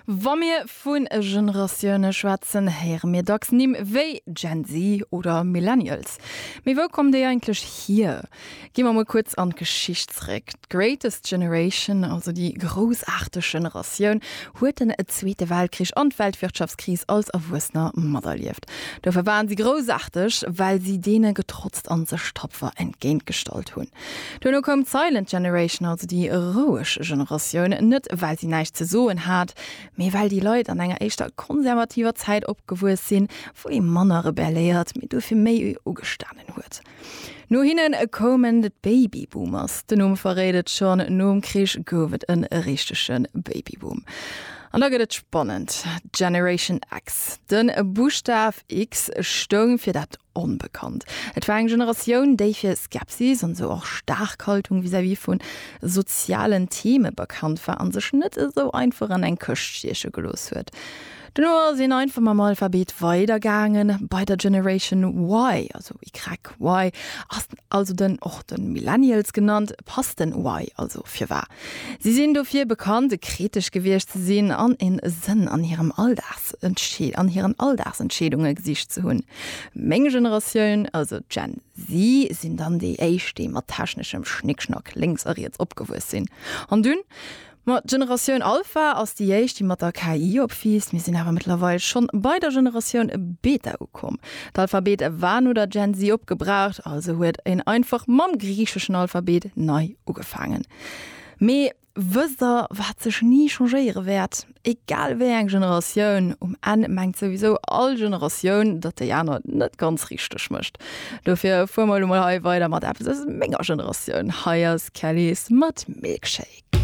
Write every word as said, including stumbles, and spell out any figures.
Wa mir vu Generatioune schwätzen, héiere mir dacks Nimm wéi Gen Z oder Millennials. Mee wou kommen déi eigentlech hier? Gi mer mol kuerz an d'Geschicht zeréck. D'Greatest Generation, also déi groussaarteg Generatioun, huet den Zweete Weltkrich an d'Weltwirtschaftskris als Erwuessener materlieft. Dofir waren si groussaarteg, well si deene getrotzt an sech tapfer entgéintgestallt hunn. Duerno koum d'Silent Generation, also déi roueg Generatioun, net well si näischt ze soen hat, mee well déi Leit an enger éischter konservativer Zäit opgewuess sinn, wou ee manner rebelléiert, mee dofir méi ugestanen huet. No hinne koumen d'Babyboomers. Den Numm verréit et schonn, nom Krich gouf et e richtege Babyboom. An da gëtt et spannend, Generation X. De Buschtaf X stoung fir dat Onbekannt. Et war eng Generatioun, déi fir Skepsis an esou och staark Haltung vis-à-vis vu sozialen Theme bekannt war an sech net esou einfach an eng Këscht stieche gelooss huet. Duerno ass een einfach mam Alphabet weidergaangen, bei der Generation Y, also Y, ass also den och den Millennials genannt, passt den Y also firwar. Si sinn dofir bekannt, kritesch gewiescht ze sinn an en Sënn an hirem Alldagsentschee an hiren Alldagsentscheedunge gesicht ze hunn. Meng Generatioun, also d'Gen Z, sinn dann déi éischt, déi mat techneschem Schnickschnack lénks a riets opgewuess sinn. An dunn? Ma d'Generatioun Alpha ass déi éischt, déi mat der K I opwiisst. Mir sinn awer mëttlerweil schonn bei der Generatioun Beta ukomm. D'Alphabet war no der Gen Z opgebraucht, also huet een einfach mam griicheschen Alphabet nei ugefaangen. Mee wësst der, wat sech ni changéiere wäert? Egal wéi eng Generatioun, um Enn mengt souwisou all Generatioun, datt déi aner et net ganz richteg mécht. Dofir fuere mer elo mol hei weider mat eppes aus menger Generatioun. Hei ass Kelis mat Milkshake.